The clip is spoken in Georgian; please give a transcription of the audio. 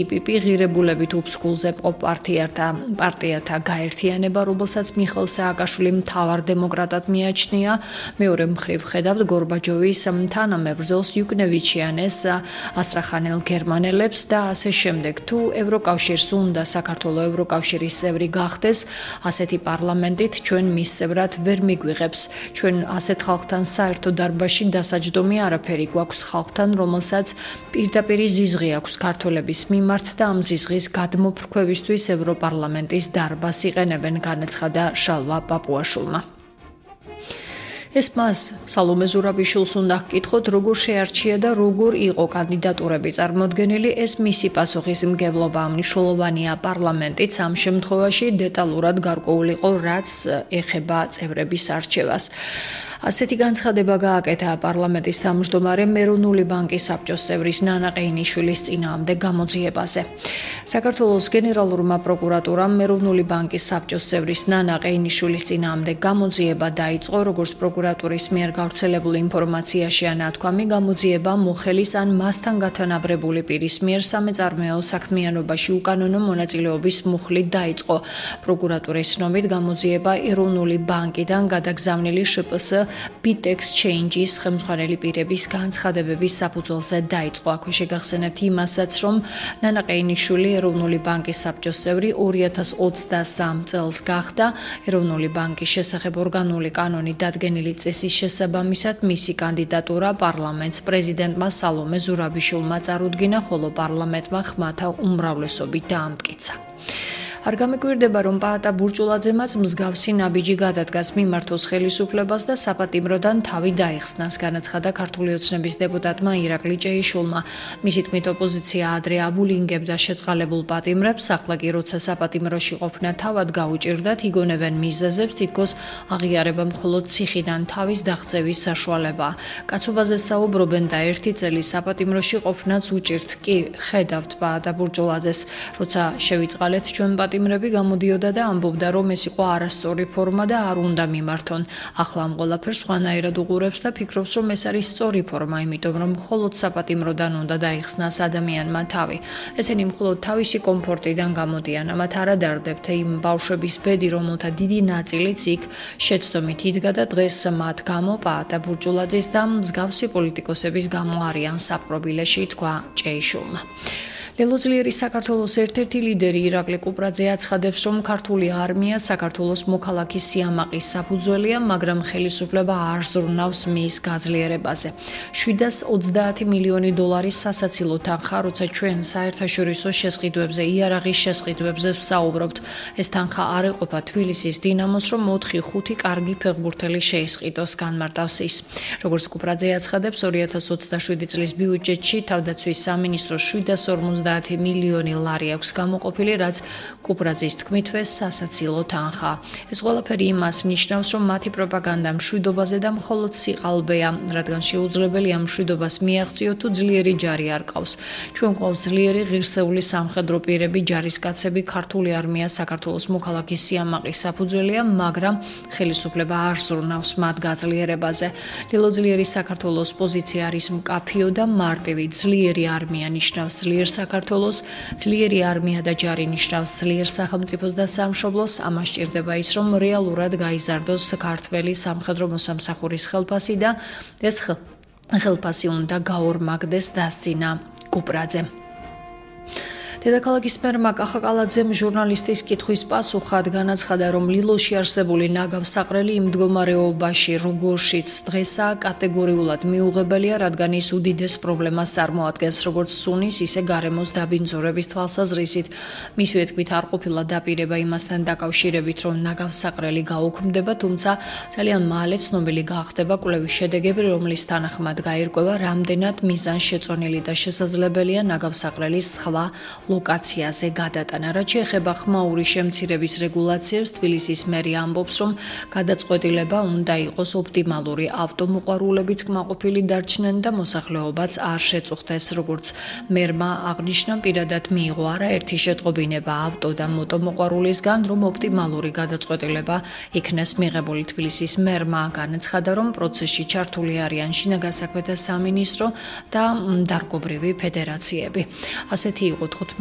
IPP ღირებულებით უფსკულზე პარტიათა გაერთიანება, რომელსაც მიხეილ სააკაშვილი მთავარ დემოკრატად მიაჩნია. მეორე მხრივ ხედავთ გორბაჩოვის თანამებრძოლს იუკნევიჩიანეს, ასტრახანელ გერმანელებს და ასე შემდეგ. თუ ევროკავშირს უნდა საქართველოს ევროკავშირის წევრი გახდეს, ასეთი პარლამენტით ჩვენ მის წევრად ვერ მიგვიღებს. ჩვენ ასეთ ხალხთან საერთო დარბაზში დასაჯდომი არაფერი გვაქვს ხალხთან, რომელსაც პირდაპირ ზიზღი აქვს ქართველების მიმართ და ამ ზიზღის გადმოფრქვევისთვის ევროპარლამენტის დარბაზს იყენებენ, განაცხადა შალვა პაპუაშვილმა. ეს მას სალომე ზურაბიშვილს უნდა ჰკითხოთ, როგორ შეარჩია და როგორ იყო კანდიდატურები წარმოდგენილი. ეს მისი პასუხისმგებლობა მნიშვნელოვანია. პარლამენტიც ამ შემთხვევაში დეტალურად გარკვეული იყო, რაც ეხება წევრების არჩევას. ასეთი განცხადება გააკეთა პარლამენტის თავმჯდომარემ ეროვნული ბანკის საბჭოს წევრის ნანა ყეინიშვილის წინააღმდეგ გამოძიებაზე. საქართველოს გენერალურმა პროკურატურამ ეროვნული ბანკის საბჭოს წევრის ნანა ყეინიშვილის წინააღმდეგ გამოძიება დაიწყო, როგორც პროკურატურის მიერ გავრცელებული ინფორმაციაშია ნათქვამი, გამოძიება მოხელის ან მასთან გათანაბრებული პირის მიერ სამეწარმეო საქმიანობაში უკანონო მონაწილეობის მუხლით დაიწყო. პროკურატურის ცნობით გამოძიება ეროვნული ბანკიდან გადაგზავნილი შპს Bit Exchange-ის ხელმძღვანელი პირების განცხადებების საფუძველზე დაიწყო. აქვე შეგახსენებთ იმასაც, რომ ნანა ყეინიშვილი ეროვნული ბანკის საბჭოს წევრი 2023 წელს გახდა. ეროვნული ბანკის შესახებ ორგანული კანონი დადგენილი წესის შესაბამისად მისი კანდიდატურა პარლამენტს პრეზიდენტმა სალომე ზურაბიშვილმა წარუდგინა, ხოლო პარლამენტმა ხმათა უმრავლესობით დაამტკიცა. არ გამეკვირდება, რომ პაატა ბურჭულაძემაც მსგავსი ნაბიჯი გადადგას მიმართოს ხელისუფლებას და საპატიმროდან თავი დაეხსნას, განაცხადა ქართული ოცნების დეპუტატმა ირაკლი ჭეიშვილმა. მისი თქმით, ოპოზიცია ადრე აბულინგებდა შეწყალებულ პატიმრებს, ახლა კი როცა საპატიმროში ყოფნა თავად გაუჭირდათ, იგონებენ მიზეზებს, თითქოს აღიარება მხოლოდ ციხიდან თავის დაღწევის საშუალებაა. კაცობაზე საუბრობენ და ერთი წელი საპატიმროში ყოფნაც უჭირთ. კი, ხედავთ პაატა ბურჭულაძეს, როცა შევიწყალეთ ჩვენ პატიმრები გამოდიოდა და ამბობდა, რომ ეს იყო არასწორი ფორმა და არ უნდა მიმართონ. ახლა ამ ყველაფერს სხვანაირად უყურებს და ფიქრობს, რომ ეს არის სწორი ფორმა, იმიტომ რომ მხოლოდ საპატიმროდან უნდა დაიხსნას ადამიანმა თავი. ესენი მხოლოდ თავისი კომფორტიდან გამოდიან, ამათ არ ადარდებთ იმ ბავშვების ბედი, რომელთა დიდი ნაწილიც იქ შეცდომით იდგა და დღეს მათ გამო პაატა ბურჭულაძის და მსგავსი პოლიტიკოსების გამო არიან საპყრობილეში, თქვა ჭეიშვილმა. ლელოძლიერი საქართველოს ერთ-ერთი ლიდერი ირაკლი კუპრაძე აცხადებს, რომ ქართული არმია საქართველოს მოქალაქის სიამაყის საფუძველია, მაგრამ ხელისუფლება არ ზრუნავს მის გაძლიერებაზე. 730 მილიონი დოლარის სასაცილო თანხა, როცა ჩვენ საერთაშორისო შესყიდვებზე, იარაღის შესყიდვებზე ვსაუბრობთ, ეს თანხა არ ეყოფა თბილისის დინამოს, რომ 4-5 კარგი ფეხბურთელი შეისყიდოს, განმარტავს ის. როგორც კუპრაძე აცხადებს, 2027 წლის ბიუჯეტში თავდაცვის სამინისტროს 750 მილიონი ლარი აქვს გამოყოფილი, რაც კუპრაძის თქმითვე სასაცილო თანხა. ეს ყველაფერი იმას ნიშნავს, რომ მათი პროპაგანდა მშვიდობაზე და მხოლოდ სიყალბეა, რადგან შეუძლებელია მშვიდობას მიაღწიოთ თუ ძლიერი ჯარი არ ყავს. ჩვენ გვყავს ძლიერი ღირსეული სამხედრო პირები, ჯარისკაცები, ქართული არმია საქართველოს მოქალაქის სიამაყის საფუძველია, მაგრამ ხელისუფლება არ ზრუნავს მათ გაძლიერებაზე. ლელოძლიერი საქართველოს პოზიცია არის მკაფიო და მარტივი. ძლიერი არმია ნიშნავს ძლიერ საქართველოს, ძლიერი არმია და ჯარი ნიშნავს ძლიერ სახელმწიფოს და სამშობლოს. ამას სჭირდება ის, რომ რეალურად გაიზარდოს ქართველი სამხედრო მოსამსახურის ხელფასი და ეს ხელფასი უნდა გაორმაგდეს, დასძინა კუპრაძე. დედაქალაქის მერმა კახაკალაძემ ჟურნალისტის კითხვის პასუხად განაცხადა, რომ ლილოში არსებული ნაგავსაყრელი იმ მდგომარეობაში, როგორშიც დღესაა, კატეგორიულად მიუღებელია, რადგან ის უდიდეს პრობლემას წარმოადგენს, როგორც სუნის, ისე გარემოს დაბინძურების თვალსაზრისით. მისივე თქმით, არ ყოფილა დაპირება იმასთან დაკავშირებით, რომ ნაგავსაყრელი გაუქმდება, თუმცა ძალიან მალე ცნობილი გახდება კვლევის შედეგები, რომლის თანახმად გაირკვევა, რამდენად მიზანშეწონილი და შესაძლებელია ნაგავსაყრელის სხვა ლოკაციაზე გადატანა. რაც შეეხება ხმაური შემცირების რეგულაციებს, თბილისის მერი ამბობს, რომ გადაწყვეტილება უნდა იყოს ოპტიმალური. ავტომოყვარულებიც კმაყოფილი დარჩნენ და მოსახლეობაც არ შეწუხდეს. როგორც მერმა აღნიშნა, პირადად მიიღო არაერთი შეტყობინება ავტო და მოტომოყვარულისგან, რომ ოპტიმალური გადაწყვეტილება იქნეს მიღებული. თბილისის მერმა განაცხადა, რომ პროცესში ჩართული არიან შინაგან საქმეთა სამინისტრო და დარგობრივი ფედერაციები. ასეთი იყო 15